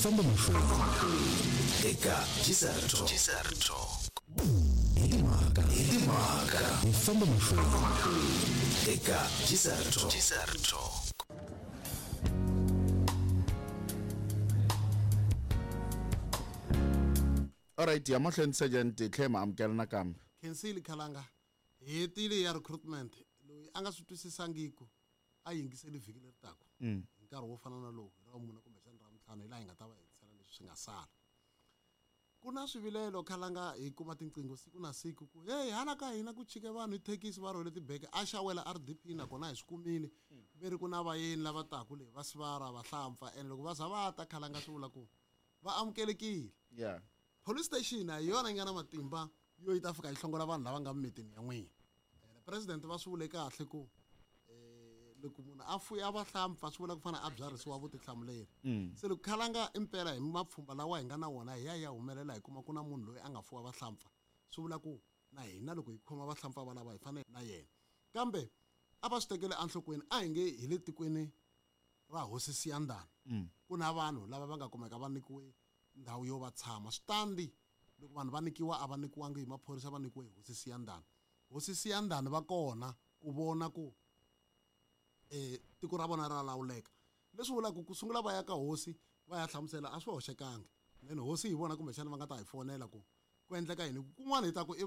Famba mahlweni eka Gizerto hi timhaka. Hi timhaka. Hi famba mahlweni eka Gizerto. Alright, ya mahlweni sergeant, hi tlhela hi ma amukela nakambe. Khensile Khalanga, hi hetile ya recruitment. Loyi a nga swi twisisangiku a yingiseli vhiki leri taka hi nkarhi wo fana na lowu, hi ra vumune kumbexana ra vuntlhanu, hi laha hi nga ta va hetisela leswi swi nga sala. Ku na swivilelo Khalanga, hi kuma tinqingho siku na siku ku hey, hala ka hina ku chike vanhu hi thekisi va rhwele tibeke, a xawela RDP, nakona hi swi kumile ve ri ku na vayeni lava taku leyi va sivara vahlampfa, and loko va za va ta Khalanga swi vula ku va amukelekile. Police station a hi yona yi nga na matimba yo yi ta fika yi hlongola vanhu lava nga mimitini ya n'wina. President va swi vule kahle ku loko munhu a fuya vahlampfa swi vula ku fana a byarhisiwa vutihlamuleri. Se loko Khalanga impela hi mapfhumba lawa hi nga na wona hi ya hi ya humelela hi kuma ku na munhu loyi a nga fuwa vahlampfa, swi vula ku na hina loko hi khoma vahlampfa valava hi fanele na yena. Kambe a va swi tekele enhlokweni, a hi nge hi le tikweni ra Hosi Siyandhani ku na vanhu lava va nga kumeka va nyikiwe ndhawu yo va tshama. Switandi loko vanhu va nyikiwa a va nyikiwangi hi maphorisa, va nyikiwe hi Hosi Siyandhani. Hosi Siyandhani va kona ku vona ku tiko ra vona ra lawuleka, leswi vulaka ku sungula va ya ka hosi va ya hlamusela a swi hoxekangi. Then hosi hi vona kumbexana va nga ta hi fonela ku ku endleka yini kun'wana, hi ta ku i